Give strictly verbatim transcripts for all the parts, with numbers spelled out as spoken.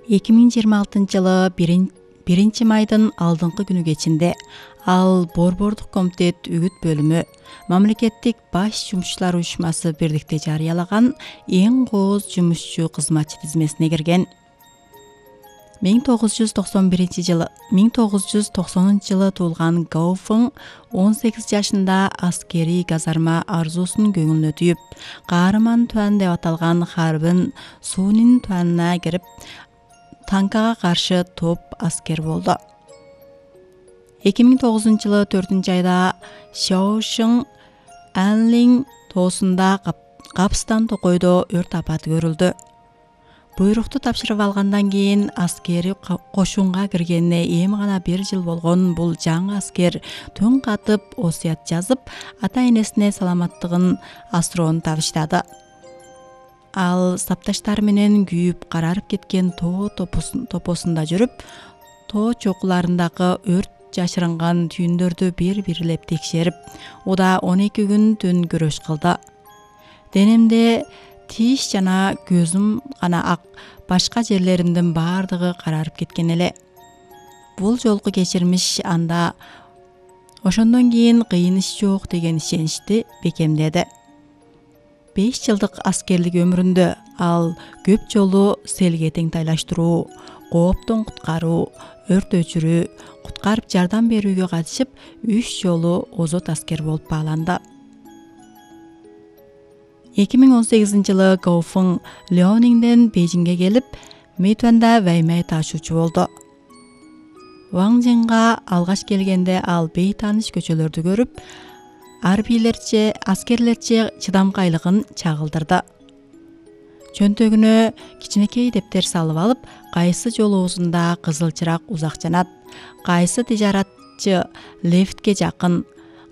эки миң жыйырма алтынчы жылы биринчи майдын алдыңкы күнү кечинде ал Борбордук комитет үгүт бөлүмү мамлекеттик баш жумушчулар уюшмасы бирдикте жарыялаган эң кооз жумушчу кызматчы тизмесине кирген. миң тогуз жүз токсон биринчи жылы миң тогуз жүз токсонунчу жылы туулган Гауфың он сегиз жашында аскерий казарма арзуусун көңүлүнө түйүп, Каарман туан деп аталган Харбин суунин туанына кирип, танкага каршы топ аскер болду. эки миң тогузунчу жылы төртүнчү айда Шаошиң Анлин тоосунда капстан токойдо өрт апаты көрүлдү. Буйрукту тапшырып алгандан кийин аскери кошунга киргенине эми гана бир жыл болгон бул жаңы аскер түн катып осуят жазып, ата-энесине саламаттыгын асыроону табыштады. Ал сапташтары менен күйүп карарып кеткен тоо топосунда жүрүп, тоо чокуларындагы өрт жашырынган түйүндөрдү бир-бирлеп текшерип, уда он эки күн түн күрөш кылды. Денемде тиш жана көзүм гана ак, башка жерлеримдин баардыгы карарып кеткен эле. Бул жолку кечирмиш анда ошондон кийин кыйын иш жок деген ишеничти бекемдеди. беш жылдык аскерлик өмүрүндө ал көп жолу селге теңтайлаштыруу, кооптон куткаруу, өрт өчүрүү, куткарып жардам берүүгө катышып, үч жолу озот аскер болуп бааланды. эки миң он сегизинчи жылы Гауфың Леониңден Бейжиңге келип, Мэйтуанда ваймай ташуучу болду. Ваңжинга алгаш келгенде ал бейтааныш көчөлөрдү көрүп, арбийлерче, аскерлерче чыдамкайлыгын чагылдырды. Чөнтөгүнө кичинекей дептер салып алып, кайсы жол оозунда кызыл чырак узак жанат, кайсы тижаратчы лифтке жакын,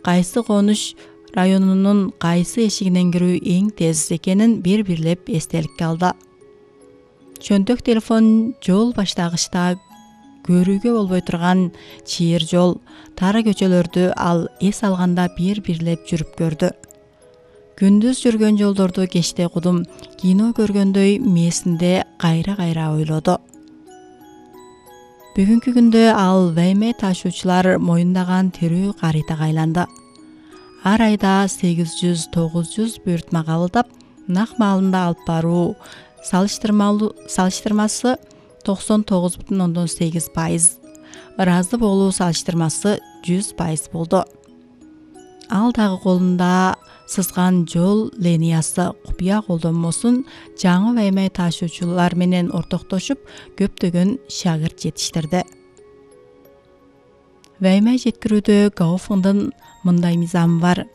кайсы конуш районунун кайсы эшигинен кирүү эң тез экенин бир-бирлеп эстеликке алды. Чөнтөк телефон жол баштагычта көрүүгө болбой турган чыйыр жол, тары көчөлөрдү ал эс алганда бир-бирлеп жүрүп көрдү. Күндүз жүргөн жолдорду кечте кудум, кино көргөндөй мээсинде кайра-кайра ойлоду. Бүгүнкү күндө ал ваймай ташуучулар моюндаган тирүү каритага айланды. Ар айда сегиз жүз тогуз жүз буйртма кабылдап, нак маалында алып баруу салыштырмасы токсон тогуз бүтүн ондон сегиз пайыз, ыраазы болуу салыштырмасы жүз пайыз болду. Ал дагы колунда сызган жол линиясы купуя колдонмосун жаңы ваймай ташуучулар менен ортоктошуп, көптөгөн шагырт жетиштирди. Ваймай жеткирүүдө Гауфыңдын мындай мыйзамы бар.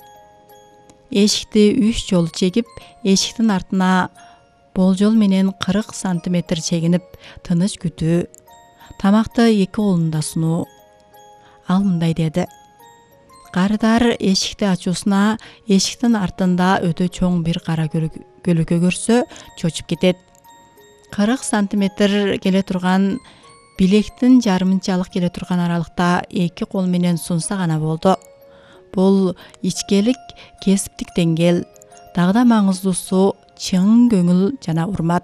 Эшикти үч жолу чегип, эшиктин артына болжол менен кырк сантиметр чегинип, тыныч күтүү, тамакты эки колунда сунуу. Ал мындай деди: Карыдар эшикти ачуусуна эшиктин артында өтө чоң бир кара көлөкө көрсө чочуп кетет. кырк сантиметр келе турган билектин жарымынчалык келе турган аралыкта эки кол менен сунса гана болду. Бул ичкелик, кесиптик деңгэл, дагы да маңыздуусу чың көңүл жана урмат.